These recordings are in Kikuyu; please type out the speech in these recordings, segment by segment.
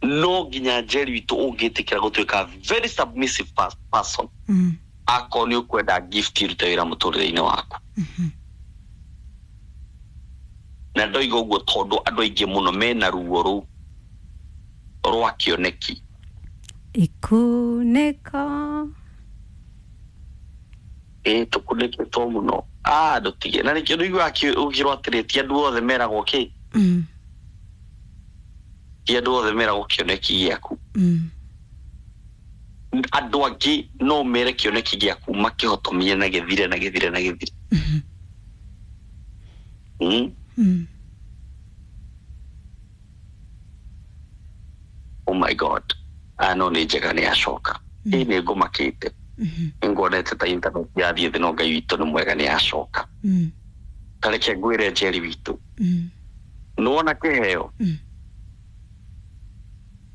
No nginya Njeri witũ ũngĩtĩkĩra gũtuĩka very submissive person, akorwo nĩ ũkwenda gift irute wĩra mũtũrĩre-inĩ waku. Na ndoiga ũguo tondũ andũ aingĩ mũno mena ruo rũu rwa kĩoneki. Ikunĩko. Ĩ tũkunĩkĩtwo mũno, ndũtige na nĩkĩo ndũiguaga ũkĩrwo atĩrĩ ti andũ othe meragwo kĩ, ti andũ othe meragwo kĩoneki gĩaku. Andũ angĩ no mere kĩoneki gĩaku makĩhotomie na gĩthire na gĩthire na gĩthire. Oh my God, aya no nĩ njega nĩ acoka. Ĩ nĩ ngũmakĩte, nĩnguonete ta internet yathiĩ thĩ, no Ngai witũ nĩ mwega, nĩ acoka. Ta reke ngwĩre, Njeri witũ, nĩwona kĩheo,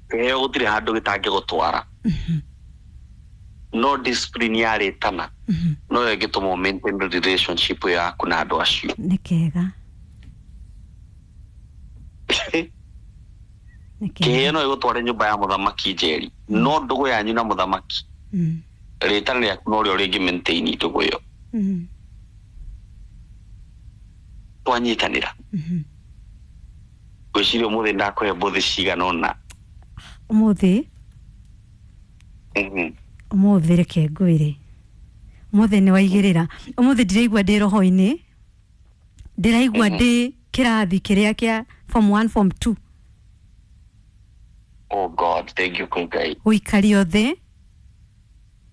kĩheo gũtirĩ handũ gĩtangĩgũtwara, no discipline yarĩtana no ĩngĩtũma ũ maintain relationship ĩyo yaku na andũ acio. Nĩ kega, nĩ Kĩheo kega. no ĩgũtware nyũmba ya mũthamaki, Njeri, no ndũgũ yanyu na mũthamaki, rĩtana rĩaku no rĩo rĩngĩ maintain ndũgũ ĩyo. Twanyitanĩra, ngwĩciria ũmũthĩ ndakũhe mbũthĩ cigana ũna. Ũmũthĩ, ũmũthĩ reke ngwĩre, ũmũthĩ nĩ waigĩrĩra. Ũmũthĩ ndĩraigua ndĩ roho-inĩ, ndĩraigua ndĩ kĩrathi kĩrĩa kĩa form 1, form 2. Oh God, thank you kwĩ Ngai. Gũikario thĩ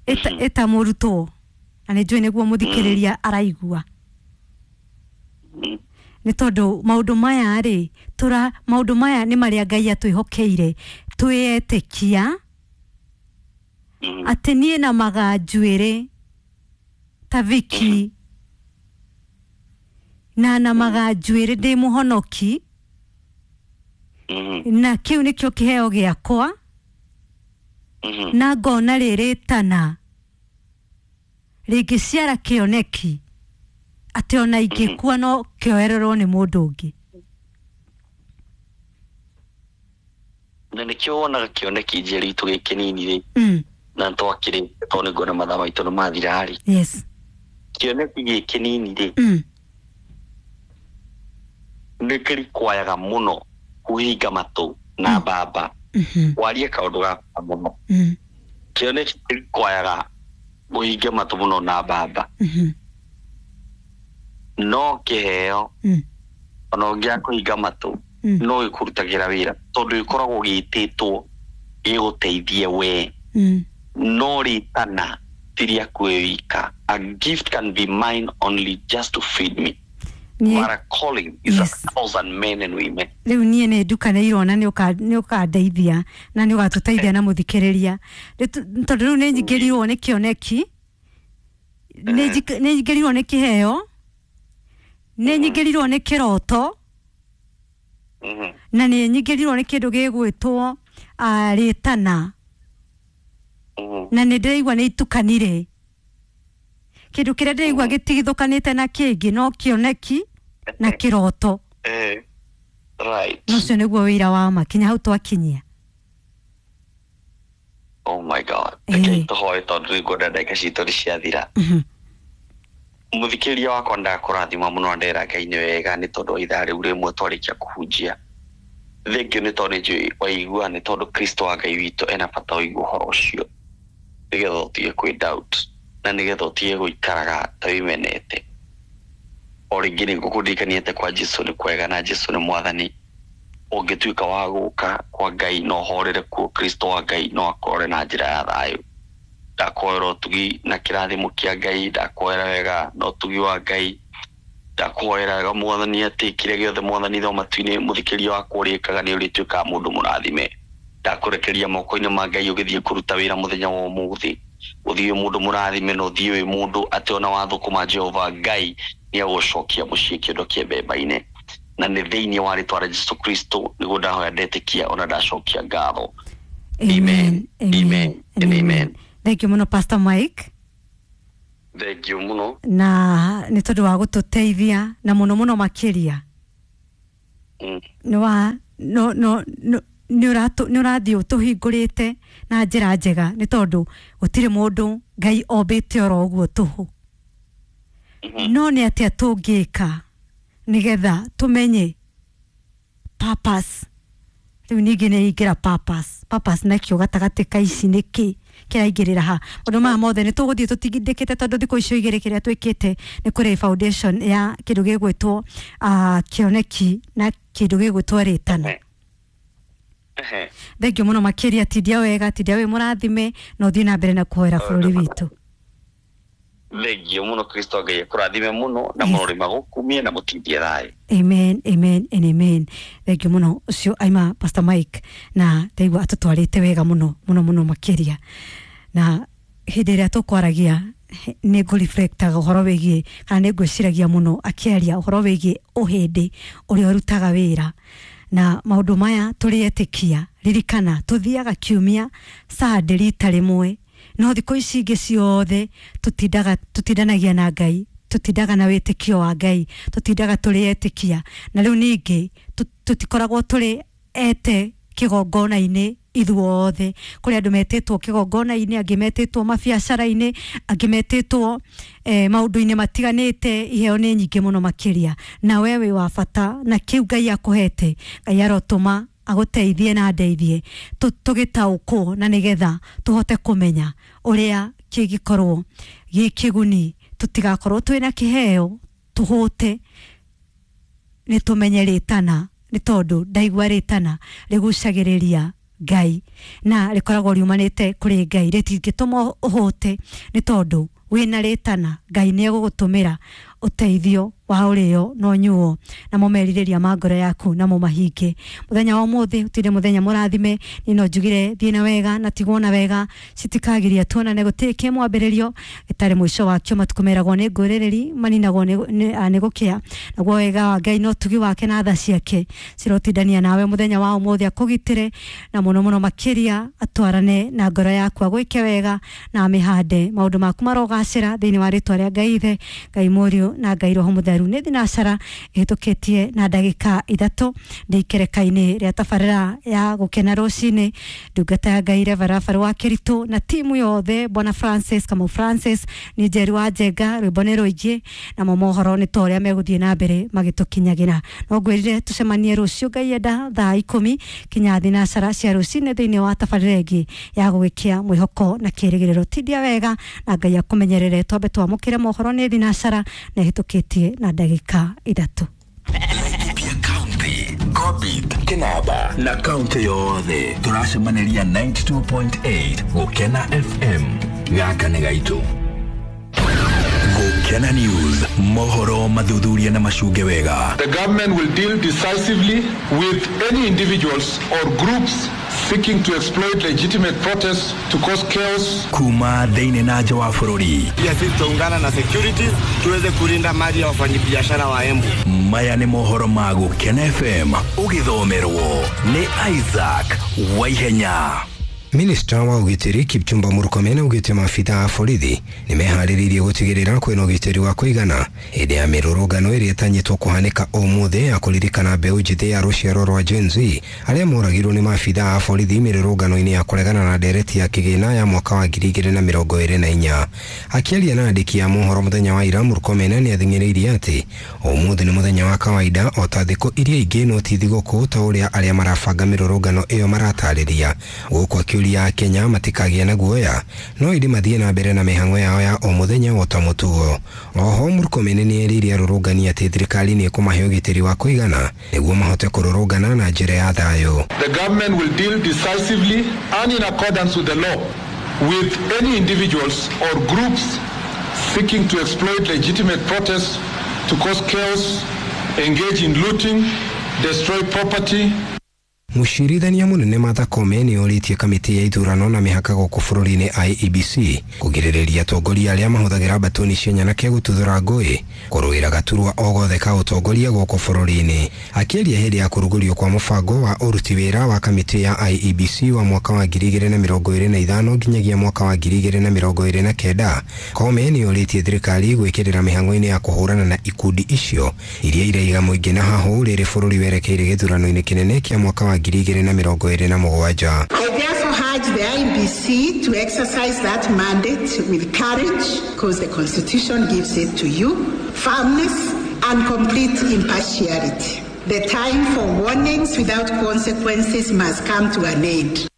ĩta, ĩta mũrutwo, na nĩ njũĩ nĩguo mũthikĩrĩria araigua, nĩ tondũ maũndũ maya rĩ, tũra maũndũ maya nĩ marĩa Ngai atwĩhokeire twĩetĩkia, atĩ niĩ na maganjuĩrĩ ta Viki na maganjuĩrĩ ndĩ mũhonoki, na kĩu nĩkĩo kĩheo gĩakwa, na ngona rĩrĩtana rĩngĩciara kĩoneki atĩ ona ingĩkua no kĩoererwo nĩ mũndũ ũngĩ. Na nĩkĩo wonaga kĩoneki, Njeri witũ, gĩ kĩnini rĩ, na twakĩrĩ tondũ nĩ nguona mathaa maitũ nĩ mathira rĩ, kĩoneki gĩ kĩnini rĩ, nĩ kĩrikwayaga mũno kũhinga matũ na mbamba warie kaũndũ ga bata mũno. Kĩoneki kĩrikwayaga ũhinge matũ mũno na mbamba, no kĩheo, ona ũngĩaga kũhinga matũ, no gĩkũrutagĩra wĩra tondũ gĩkoragwo gĩtĩtwo gĩgũteithie we, no rĩtana ti rĩaku wĩ wika. A gift can be mine only just to feed me, but a calling is a thousand men and women. Rĩu niĩ nĩ ndukanĩirwo na nĩ ũkandeithia na nĩ ũgatũteithia na mũthikĩrĩria. Tondũ rĩu nĩ nyingĩrirwo nĩ kĩoneki, nĩ nyingĩrirwo nĩ kĩheo, nĩ nyingĩrirwo nĩ kĩroto, na nĩ nyingĩrirwo nĩ kĩndũ gĩgwĩtwo rĩtana, na nĩ ndĩraigua nĩ itukanire. Kĩndũ kĩrĩa ndĩraigua gĩtigithũkanĩte na kĩngĩ no kĩoneki na kĩroto. Na ũcio nĩguo wĩra wa ma kinya hau twakinyia. Oh my God. Reke tũhoe tondũ nĩ nguona ndagĩka citũ nĩ ciathira. Mũthikĩrĩria wakwa, ndakũrathima mũno, ndera Ngai nĩ wega nĩ tondũ wa ithaa rĩu rĩmwe twarĩkia kũhunjia. Thengiũ nĩ tondũ nĩ njũĩ waigua, nĩ tondũ Kristo wa Ngai witũ ena bata ũigue ũhoro ũcio nĩgetha ũtige kwĩ doubt na nĩgetha ũtige gũikaraga ta wĩmenete. O rĩngĩ nĩ ngũkũririkania atĩ kwa Jesu nĩ kwega na Jesu nĩ mwathani. Ũngĩtuĩka wa gũka kwa Ngai no ũhorere kuo, Kristo wa Ngai no akũrore na njĩra ya thayũ. Ndakuoera ũtugi na kĩrathimo kĩa Ngai, ndakuoera wega na ũtugi wa Ngai, ndakuhoera wega mwathani atĩ kĩrĩa gĩothe mwathani tho matu-inĩ mũthikĩria wakwa ũrĩkaga nĩ ũrĩtuĩkaga mũndũ mũrathime. Ndakũrekeria moko-inĩ ma Ngai ũgĩthiĩ kũruta wĩra mũthenya wa ũmũthĩ, ũthiĩ wĩ mũndũ mũrathime na ũthiĩ wĩ mũndũ atĩ ona wathũkũma Jehova Ngai nĩ agũcokia mũciĩ kĩondo kĩa mbemba-inĩ, na nĩ thĩinĩ wa rĩtwa rĩa Jesu Kristo nĩguo ndahoya, ndetĩkia ona ndacokia ngatho. Amen. Amen. Amen and amen. Thank you mũno, Pastor Mike. Thank you mũno. Na nĩ tondũ wa gũtũteithia na mũno mũno makĩria. Nĩ wa no no no nĩ ũrathiĩ ũtũhingũrĩte na njĩra njega nĩ tondũ gũtirĩ mũndũ Ngai ombĩte oro ũguo tũhũ. No nĩ atĩa tũngĩka nĩgetha tũmenye purpose? Rĩu ningĩ nĩ ingĩra purpose nakĩo gatagatĩ ka ici nĩkĩ kĩraingĩrĩra ha? Maũndũ maya mothe nĩ tũgũthiĩ tũtindĩkĩte tondũ thikũ icio igĩrĩ kĩrĩa twĩkĩte nĩ kũrĩ foundation ya kĩndũ gĩgwĩtwo kĩoneki na kĩndũ gĩgwĩtwo rĩtana. Thengio mũno makĩria, tindia wega, tindia wĩ mũrathime na ũthiĩ na mbere na kũhoera bũrũri witũ. Thengio mũno, Kristo Ngai akũrathime mũno na mũrori magũkumie na mũtindie thayũ. Amen, amen and amen. Thengio mũno. Ũcio aima Pastor Mike na ndaigua atũtwarĩte wega mũno mũno mũno makĩria, na hĩndĩ ĩrĩa tũkwaragia nĩ ngũreflectaga ũhoro wĩgiĩ kana nĩ ngwĩciragia mũno akĩaria ũhoro wĩgiĩ ũhĩndĩ ũrĩa ũrutaga wĩra na maũndũ maya tũrĩ etĩkia. Ririkana tũthiaga kiumia Sunday rita rĩmwe, no thikũ ici ingĩ ciothe tũtindaga tũtindanagia na Ngai, tũtindaga na wĩtĩkio wa Ngai, tũtindaga tũrĩ etĩkia, na rĩu ningĩ tũtikoragwo tũrĩ ete kĩgongona-inĩ ithuothe. Kũrĩ andũ metĩtwo kĩgongona-inĩ, angĩ metĩtwo mabiacara-inĩ, angĩ metĩtwo maũndũ-inĩ matiganĩte. Iheo nĩ nyingĩ mũno makĩria, na we wĩ wa bata na kĩu Ngai akũhete. Ngai arotũma agũteithie na ndeithie tũgĩtaũkwo na nĩgetha tũhote kũmenya ũrĩa kĩngĩkorwo gĩ kĩguni, tũtigakorwo twĩna kĩheo tũhũte. Nĩ tũmenye rĩtana, nĩ tondũ ndaigua rĩtana rĩgucagĩrĩria Ngai na rĩkoragwo riumanĩte kũrĩ Ngai, rĩtingĩtũma ũhũte nĩ tondũ wĩna rĩtana. Ngai nĩ egũgũtũmĩra ũteithio wa ũrĩo na ũnyuo namo merirĩria ma ngoro yaku namo mahinge. Mũthenya wa ũmũthĩ ũtinde mũthenya mũrathime. Niĩ no njugire thiĩ na wega na tigwo na wega, citikagiria tuonane. Gũtirĩ kĩ mwambĩrĩrio gĩtarĩ mũico wakĩo. Matukũ meragwo nĩ ngũrĩrĩri maninagwo nĩ gũkĩa. Naguo wega wa Ngai na ũtugi wake na tha ciake cirotindania nawe mũthenya wa ũmũthĩ, akũgitĩre na mũno mũno makĩria atwarane na ngoro yaku, agwĩke wega na amĩhande. Maũndũ maku marogacĩra thĩinĩ wa rĩtwa rĩa Ngai Ithe, Ngai Mũriũ na Ngai Roho Mũtheru. Nĩ thinacara ĩhĩtũkĩtie na ndagĩka 3 ndĩ ikereka-inĩ rĩa tabarĩra ya gũkena rũcinĩ. Ndungata ya Ngai Reverend wa Kĩritũ na timu yothe, Bwana Francis Kamau Francis, nĩ Njeri wa Njenga, rwĩmbo nĩ rũingĩ namo mohoro nĩ ta ũrĩa megũthiĩ na mbere magĩtũkinyagĩra. No ngwĩrire tũcemanie rũciũ Ngai enda thaa 10 kinya thinacara cia rũcinĩ thĩinĩ wa tabarĩra ĩngĩ ya gũgĩkia mwĩhoko na kĩrĩgĩrĩro. Tindia wega na Ngai akũmenyerere. Twambe twamũkĩre mohoro nĩ thinacara na ĩhĩtũkĩtie na ndagĩka 3. Laikipia County, Ngobit, Kinaba na kaunti yothe tũracemanĩria 92.8 Gũkena FM. Gaka nĩ gaitũ. Gũkena News, mohoro mathuthuria na macunge wega. The government will deal decisively with any individuals or groups seeking to exploit legitimate protests to cause chaos. Kuma thĩinĩ na nja wa bũrũri. Pia sisi tutaungana na securities tuweze kulinda mali ya wafanyabiashara wa Embu. Maya nĩ mohoro ma Gũkena FM, ũgĩthomerwo nĩ Isaac Waihenya. Minista wa ũgitĩri Kipchumba Murkomen augĩte maabitha a borithi nĩ meharĩrĩirie gũtigĩrĩra kwĩna ũgitĩri wa kũigana hĩndĩ ya mĩrũrũngano ĩrĩa ĩtanyĩtwo kũhanĩka ũmũthĩ ya kũririkana mbeũ njĩthĩ ya rũciaro rwa Gen Z arĩa moragirwo nĩ maabitha a borithi mĩrũrũngano-inĩ ya kũregana na ndereti ya kĩgĩna ya mwaka wa 2024. Akĩaria na andĩki a mohoro mũthenya wa ira, Murkomen nĩ athing'ĩrĩirie atĩ ũmũthĩ nĩ mũthenya wa kawaida o ta thikũ iria ingĩ, no ti thigũkũ ta ũrĩa arĩa marabanga mĩrũrũngano ĩyo maratarĩria. Gũkũ akiuria Kenya matikagĩa na guoya, no ĩndĩ mathiĩ na mbere na mĩhang'o yao ya o mũthenya o ta mũtugo. Oho Murkomen nĩ erĩire arũrũngani atĩ thirikari nĩ ĩkũmahe ũgitĩri wa kũigana nĩguo mahote kũrũrũngana na njĩra ya thayũ. The government will deal decisively and in accordance with the law with any individuals or groups seeking to exploit legitimate protests to cause chaos, engage in looting, destroy property. Mũcirithania mũnene Martha Koome nĩ orĩtie kamĩtĩ ya ithurano na mĩhaka gũkũ bũrũri-inĩ IEBC kũgirĩrĩria atongoria arĩa mahũthagĩra mbatoni cia nyanake gũtuthũra ngũĩ kũrũĩra gaturwa o gothe ka ũtongoria gũkũ bũrũri-inĩ. Akĩaria hĩndĩ ya kũrugũrio kwa mũbango wa ũruti wĩra wa kamĩtĩ ya IEBC wa mwaka wa 2025 nginyagia mwaka wa 2029, Koome nĩ orĩtie thirikari gwĩkĩrĩra mĩhang'o-inĩ ya kũhũrana na ikundi icio iria iraiga mũingĩ na hahũ rĩrĩ bũrũri werekeire gĩthurano-inĩ kĩnene kĩa mwaka wa 2027. I therefore urge the IEBC to exercise that mandate with courage, because the Constitution gives it to you, firmness and complete impartiality. The time for warnings without consequences must come to an end.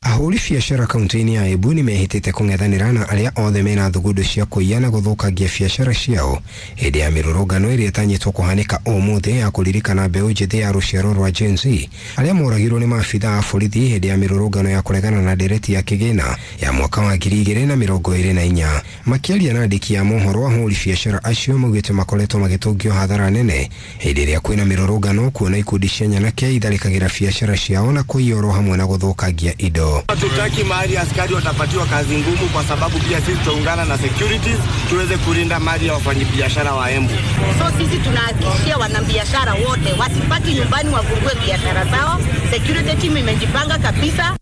Ahũri biacara kaunti-inĩ ya Embu nĩ mehĩtĩte kũng'ethanĩra na arĩa othe mena thugundu cia kũiya na gũthũkangia biacara ciao hĩndĩ ya mĩrũrũngano ĩrĩa ĩtanyĩtwo kũhanĩka ũmũthĩ ya kũririkana mbeũ njĩthĩ ya rũciaro rwa Gen Z arĩa moragirwo nĩ maabitha a borithi hĩndĩ ya mĩrũrũngano ya kũregana na ndereti ya kĩgĩna ya mwaka wa 2024. Makĩaria na andĩki a mohoro, ahũri biacara acio maugĩte makoretwo magĩtũngio hathara nene hĩndĩ ĩrĩa kwĩna mĩrũrũngano, kuona ikundi cia nyanake itharĩkagĩra biacara ciao na kũiya oro hamwe na gũthũkangia indo. Hatutaki mahali askari watapatiwa kazi ngumu, kwa sababu pia sisi tutaungana na securities tuweze kulinda mali ya wafanyabiashara wa Embu. So sisi tunahakikishia wanabiashara wote wasibaki nyumbani, wafungue biashara zao. Security team imejipanga kabisa.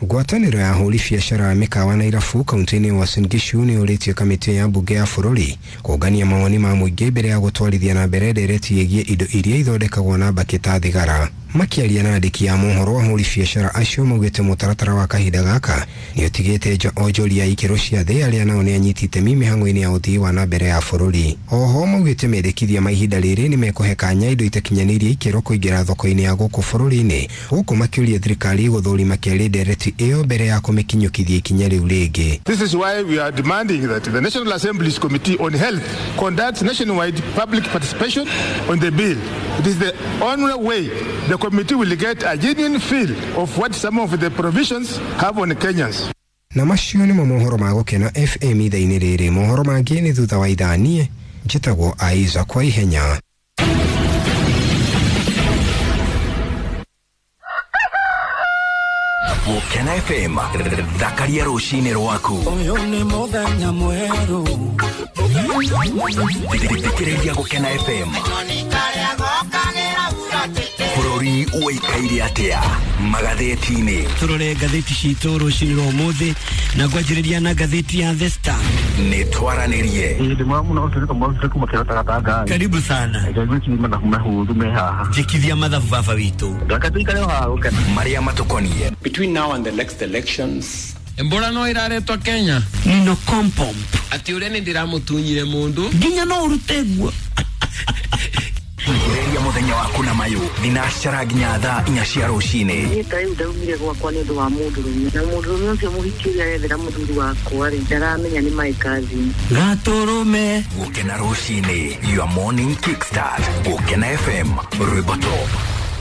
Ngwatanĩro ya ahũri biacara a mĩkawa na irabu kaunti-inĩ ya Uasin Gishu nĩ ũrĩtie kamĩtĩ ya mbunge ya bũrũri kũngania mawoni ma mũingĩ mbere ya gũtwarithia na mbere ndereti ĩgiĩ indo iria ithondekagwo na mbakĩ ta thigara. Makĩaria na andĩki a mohoro, ahũri biacara acio maugĩte mũtaratara wa kahinda gaka nĩ ũtigĩte nja onjoria a ikĩro cia thĩ arĩa nao nĩ anyiti itemi mĩhang'o-inĩ ya ũthii wa na mbere ya bũrũri. Oho maugĩte mendekithia ma ihinda rĩrĩ nĩ mekũhe kanya indo itakinyanĩirie ikĩro kũingĩra thoko-inĩ ya gũkũ bũrũri-inĩ, gũkũ makĩũria thirikari gũthũrima kerĩ ndereti ĩyo mbere ya kũmĩkinyũkithia ikinya rĩu rĩngĩ. This is why we are demanding that the National Assembly's Committee on Health conducts nationwide public participation on the bill. It is the only way the committee will get a genuine feel of what some of the provisions have on Kenyans. Na macio nĩmo mohoro ma Gũkena FM ithaa-inĩ rĩrĩ. Mohoro mangĩ nĩ thutha wa ithaa. Niĩ njĩtagwo Aiza kwa ihenya. Gũkena FM, thakaria rũcinĩ rwaku. Ũyũ nĩ mũthenya mwerũ. Thikĩrĩria Gũkena FM. Bũrũri ũikaire atĩa magathĩti-inĩ? Tũrore ngathĩti citũ rũcinĩ rwa ũmũthĩ na ngwanjĩrĩria na ngathĩti ya The Star. Nĩ twaranĩrie. Karibu sana. Njĩkithia mathabu baba witũ. Marĩa matũkoniĩ. Between now and the next elections, Embora no iraretwo Kenya. Nino kompomp. Ati ũrĩa nĩ ndĩramũtunyire mũndũ. Nginya no ũrute nguo. Thikĩrĩria mũthenya waku na mayũ thinacara nginya thaa 4 cia rũcinĩ. Niĩ ta rĩu ndaumire gwakwa nĩ ũndũ wa mũndũrũme, na mũndũrũme ũcio mũhiki ũrĩa arethera mũthuri wakwa rĩ, ndaramenya nĩ my cousin. Gatũrũme. Gũkena rũcinĩ, your morning kickstart. Gũkena FM, rwĩmbo top.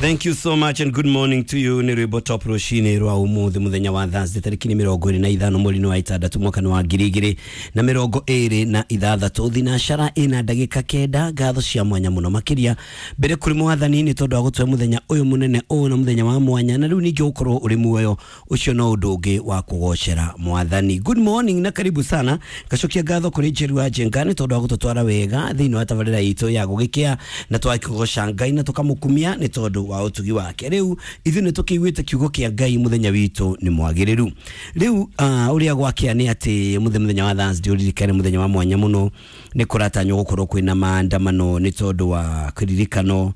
Thank you so much and good morning to you. Nĩ rwĩmbo top rũcinĩ rwa ũmũthĩ mũthenya wa Thursday tarĩki nĩ 25 mweri wa 6 mwaka wa 2026. Thinacara ĩna ndagĩka 9. Ngatho cia mwanya mũno makĩria mbere kũrĩ mwathani nĩ tondũ wa gũtũhe mũthenya ũyũ mũnene ũyũ na mũthenya wa mwanya, na rĩu ningĩ gũkorwo ũrĩ muoyo ũcio no ũndũ ũngĩ wa kũgocera mwathani. Good morning na karibu sana. Ngacokia ngatho kũrĩ Njeru wa Njenga nĩ tondũ wa gũtũtwara wega thĩinĩ wa tabarĩra itũ ya gũgĩkĩa, na twakĩgoca Ngai na tũkamũkumia nĩ tondũ wa ũtugi wake. Rĩu ithuĩ nĩ tũkĩiguĩte kiugo kĩa Ngai mũthenya witũ nĩ mwagĩrĩru. Rĩu ũrĩa gwakĩa nĩ atĩ mũthenya wa Thursday ũririkane mũthenya wa mwanya mũno, nĩ kũratanywo gũkorwo kwĩna maandamano nĩ tondũ wa kĩririkano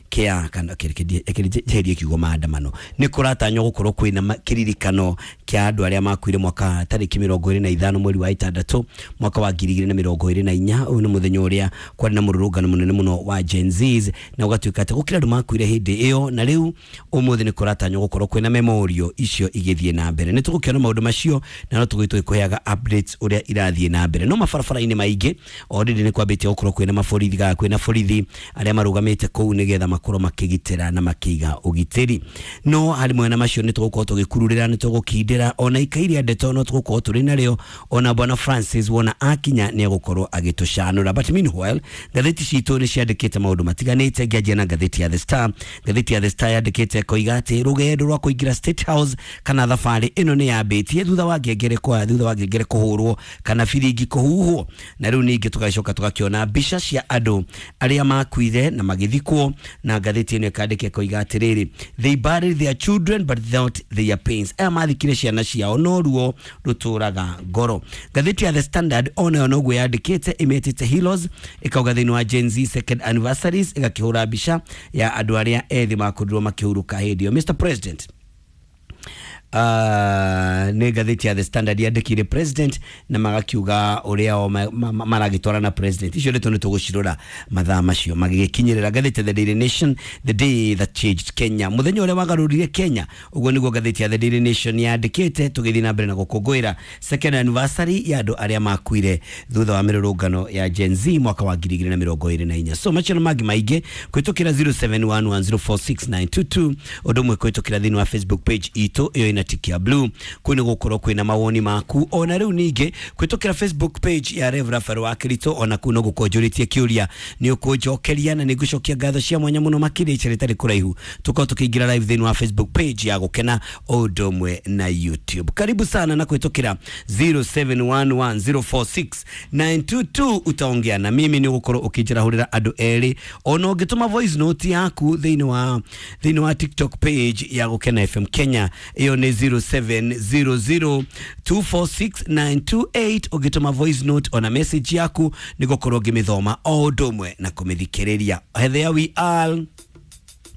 kĩa kana kĩrĩrie kiugo maandamano, nĩ kũratanywo gũkorwo kwĩna kĩririkano kĩa andũ arĩa makuire mwaka tarĩki 25 mweri wa 6 mwaka wa 2024. Ũyũ nĩ mũthenya ũrĩa kwarĩ na mũrũrũngano mũnene mũno wa Gen Zs, na ũgatuĩka atĩ gũkĩra andũ makuire hĩndĩ ĩyo, na rĩu ũmũthĩ nĩ kũratanywo gũkorwo kwĩna memorial icio igĩthiĩ na mbere. Nĩ tũgũkĩona maũndũ macio na no tũgũgĩtwo tũkĩheaga updates ũrĩa irathiĩ na mbere. No mabarabara-inĩ maingĩ already nĩ kwambĩtie gũkorwo kwĩna maborithi, kwĩna borithi arĩa marũgamĩte kũu nĩgetha makorwo makĩgitĩra na makĩiga ũgitĩri. No harĩ mwena macio nĩ tũgũkorwo tũgĩkururĩra, nĩ tũgũkindĩra Waithera ona ikairia ndeto no tũgũkorwo tũrĩ narĩo, ona bwana Francis wona akinya nĩ egũkorwo agĩtũcanũra. But meanwhile, ngathĩti citũ nĩ ciandĩkĩte maũndũ matiganĩte. Ngĩanjia na ngathĩti ya The Star. Ngathĩti ya The Star yandĩkĩte koiga atĩ rũgendo rwa kũingĩra State House kana thabarĩ ĩno nĩ yambĩtie thutha wa ngengere kwa thutha wa ngengere kũhũrwo kana biringi kũhuhwo. Na rĩu ningĩ tũgacoka tũgakĩona mbica cia andũ arĩa makuire na magĩthikwo, na ngathĩti ĩno ĩkandĩka ĩkoiga atĩrĩrĩ, "They buried their children but not their pains." Aya mathikire ciana ciao no ruo rũtũraga ngoro. Ngathĩti ya The Standard onayo noguo yandĩkĩte, ĩmĩtĩte Heroes, ĩkauga thĩinĩ wa Gen Z second anniversaries, ĩgakĩhũra mbica ya andũ arĩa ethĩ makorirwo makĩhurũka hĩndĩ ĩyo. Mr President, nĩ ngathĩti ya The Standard yandĩkire president na magakiuga ũrĩa o maragĩtwara na president. Icio ndeto nĩ tũgũcirora mathaa macio magĩgĩkinyĩrĩra. Ngathĩti ya The Daily Nation, "The day that changed Kenya", mũthenya ũrĩa wagarũrire Kenya, ũguo nĩguo ngathĩti ya The Daily Nation yandĩkĩte, tũgĩthiĩ na mbere na gũkũngũĩra second anniversary ya andũ arĩa makuire thutha wa mĩrũrũngano ya Gen Z mwaka wa 2024. So macio na mangĩ maingĩ kũhĩtũkĩra 0711046922, ũndũ ũmwe kũhĩtũkĩra thĩinĩ wa Facebook page itũ ĩyo ĩna tiki ya blue, kũu nĩ gũkorwo kwĩna mawoni maku. Ona rĩu ningĩ kũhĩtũkĩra Facebook page ya Rev Rafael wa Kirito, ona kũu no gũkorwo njũrĩtie kĩũria, nĩ ũkũnjokeria na nĩ ngũcokia ngatho cia mwanya mũno makĩria. Ica rĩtarĩ kũraihu tũkorwo tũkĩingĩra live thĩinĩ wa Facebook page ya Gũkena o ũndũ ũmwe na YouTube. Karibu sana, na kũhĩtũkĩra 0711046922 utaongea na mimi, nĩ ũgũkorwo ũkĩnjĩrahũrĩra andũ erĩ, ona ũngĩtũma voice note yaku thĩinĩ wa TikTok page ya Gũkena FM Kenya, ĩyo nĩ 0700246928. Ũngĩtũma voice note ona message yaku, nĩ gũkorwo ngĩmĩthoma o ũndũ ũmwe na kũmĩthikĩrĩria. There we are.